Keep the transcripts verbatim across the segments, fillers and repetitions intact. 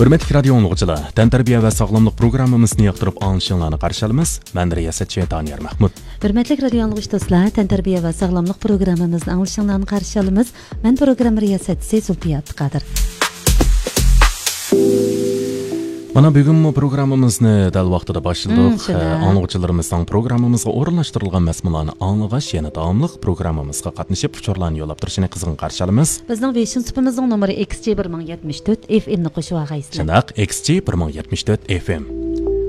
ھۆرمەتلىك رادىيو ئاڭلىغۇچىلار، تەنتەربىيە ۋە ساغلاملىق پروگراممىمىزنى ياقتۇرۇپ ئاڭلىشىڭلارنى قارشى ئالىمىز. مەن رىياسەتچى دانىيار مەھمۇت. ھۆرمەتلىك رادىيو ئاڭلىغۇچى دوستلار، تەنتەربىيە ۋە ساغلاملىق پروگراممىمىزنى ئاڭلىشىڭلارنى قارشى ئالىمىز. مەن پروگرامما رىياسەتچىسى زۇلپىيە ئابدۇقادىر. مانا بۈگۈنمۇ پروگراممىمىزنى دەل ۋاقتىدا باشلىدۇق. مم، شۇنداق. ئە، ئاڭلىغۇچىلىرىمىزنىڭ پروگراممىمىزغا ئورۇنلاشتۇرۇلغان مەزمۇنلارنى ئاڭلىغاچ، يەنە داۋاملىق پروگراممىمىزغا قاتنىشىپ، ئۇچۇرلارنى يوللاپ تۇرۇشىنى قىزغىن قارشى ئالىمىز. بىزنىڭ ۋېيشىن سۇپىمىزنىڭ نومۇرى ئېكس جى بىر مىڭ يەتمىش تۆت، ئېف ئېم نى قوشۇۋالغايسىلەر. شۇنداق، ئېكس جى بىر مىڭ يەتمىش تۆت ئېف ئېم.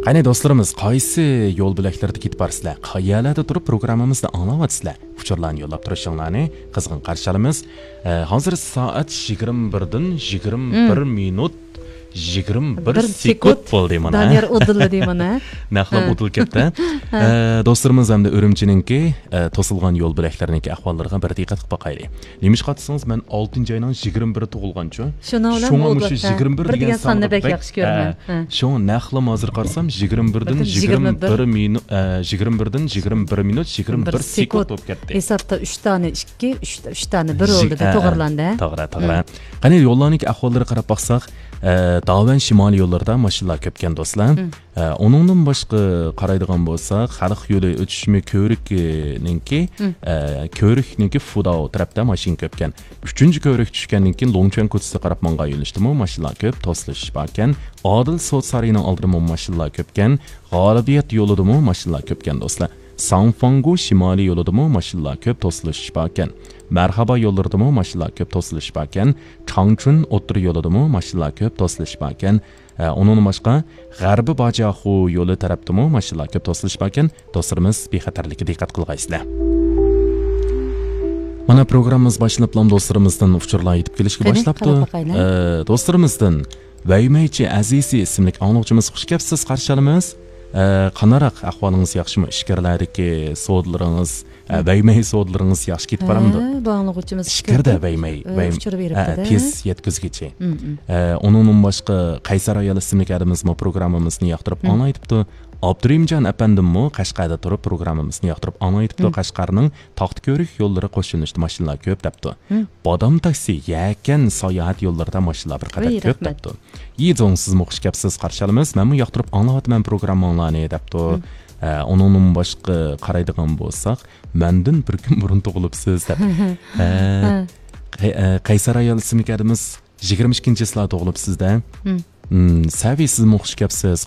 قېنى دوستلىرىمىز، قايسى يول بۆلەكلىرىدە كېتىپ بارىسىلەر؟ قەيەرلەردە تۇرۇپ پروگراممىمىزنى ئاڭلاۋاتىسىلەر؟ ئۇچۇرلارنى يوللاپ تۇرۇشۇڭلارنى قىزغىن قارشى ئالىمىز. ئە، ھازىر سائەت يىگىرمە بىردىن يىگىرمە بىر مىنۇت، يىگىرمە بىر سېكۇنت بولدى مانا. دانىيار ئۇدۇللىدى مانا. نەقلىم ئۇدۇل كەتتى. ئە، دوستلىرىمىز ھەمدە ئۈرۈمچىنىڭكى، ئە، توسۇلغان يول بۆلەكلىرىنىڭكى ئەھۋاللىرىغا بىر دىققەت قىلىپ باقايلى. نېمىشقا دېسىڭىز، مەن ئالتىنچى ئاينىڭ يىگىرمە بىرى تۇغۇلغانچۇ. شۇنىڭ بىلەن شۇڭا مۇشۇ يىگىرمە بىر دېگەن ساننى بەك ياخشى كۆرىمەن. ئە، شۇڭا نەقلىم ھازىر قارىسام، يىگىرمە بىردىن يىگىرمە بىر مىنۇت، ئە، يىگىرمە بىردىن يىگىرمە بىر مىنۇت، يىگىرمە بىر سېكۇنت بولۇپ كەتتى. ھېسابتا ئۈچ دانە ئىككى، ئۈچ، ئۈچ دانە بىر بولدى، ئە، توغرىلاندى. توغرا، توغرا. قېنى يوللارنىڭكى ئەھۋاللىرىغا قاراپ باقساق، ئە، داۋەن شىمالىي يوللىرىدا ماشىنىلار كۆپكەن دوستلار. ئە، ئۇنىڭدىن باشقا قارايدىغان بولساق، خەلق يولى ئۆتۈشمە كۆۋرۈكىنىڭكى، ئە، كۆۋرۈكنىڭكى فۇداۋ تەرەپتە ماشىنا كۆپكەن. ئۈچىنچى كۆۋرۈك چۈشكەندىن كېيىن لوڭچۈەن كوچىسىغا قاراپ ماڭغان يۆنىلىشتىمۇ ماشىنىلار كۆپ، توسۇلۇش باركەن. ئادىل سوت سارىيىنىڭ ئالدىدىمۇ ماشىنىلار كۆپكەن. غالىبىيەت يولىدىمۇ ماشىنىلار كۆپكەن دوستلار. ساڭفاڭگۇ شىمالىي يولىدىمۇ ماشىنىلار كۆپ، توسۇلۇش باركەن. مەرھابا يوللىرىدىمۇ ماشىنىلار كۆپ، توسۇلۇش باركەن. چاڭچۈن ئوتتۇرا يولىدىمۇ ماشىنىلار كۆپ، توسۇلۇش باركەن. ئە، ئۇنىڭدىن باشقا، غەربىي باجاخۇ يولى تەرەپتىمۇ ماشىنىلار كۆپ، توسۇلۇش باركەن. دوستلىرىمىز بىخەتەرلىككە دىققەت قىلغايسىلەر. مانا پروگراممىمىز باشلىنىپلا دوستلىرىمىزدىن ئۇچۇرلار يېتىپ كېلىشكە باشلاپتۇ. ئە، دوستلىرىمىزدىن ۋەيمەيچى ئەزىزى ئىسىملىك ئاڭلىغۇچىمىز، خۇش كەپسىز، قارشى ئالىمىز. ئە، قانداق ئەھۋالىڭىز ياخشىمۇ؟ ئىچكىرىلەردىكى سودىلىرىڭىز، ئە، ۋەيمەي سودىلىرىڭىز ياخشى كېتىپ بارامدۇ؟ ھە، بۇ ئاڭلىغۇچىمىز ئىچكىردە ۋەيمەي، ئە، ۋەيم-، ئۇچۇر بېرىپتۇ-دە. تېز يەتكۈزگۈچى. ئە، ئۇنىڭدىن باشقا قەيسەر ئايال ئىسىملىك ئادىمىزمۇ پروگراممىمىزنى ياقتۇرۇپ ئاڭلايتىپتۇ. ئابدۇرېھىمجان ئەپەندىممۇ قەشقەردە تۇرۇپ پروگراممىمىزنى ياقتۇرۇپ ئاڭلايتىپتۇ. قەشقەرنىڭ تاختىكۆۋرۈك يوللىرى قوشۇنلىشىدا ماشىنىلار كۆپ دەپتۇ. بادام تاكسى، يەكەن ساياھەت يوللىرىدا ماشىنىلار بىر قەدەر كۆپ دەپتۇ. يىزوڭ، سىزمۇ خۇش كەپسىز، قارشى ئالىمىز. مەنمۇ ياقتۇرۇپ ئاڭلاۋاتىمەن پروگرامماڭلارنى دەپتۇ. ئە، ئۇنىڭدىن باشقا قارايدىغان بولساق، مەندىن بىر كۈن بۇرۇن تۇغۇلۇپسىز دەپ. ھە. قەي-، ئە، قەيسەر ئايال ئىسىملىك ئادىمىز يىگىرمە ئىككىنچى چىسلا تۇغۇلۇپسىز-دە. سەۋى، سىزمۇ خۇش كەپسىز،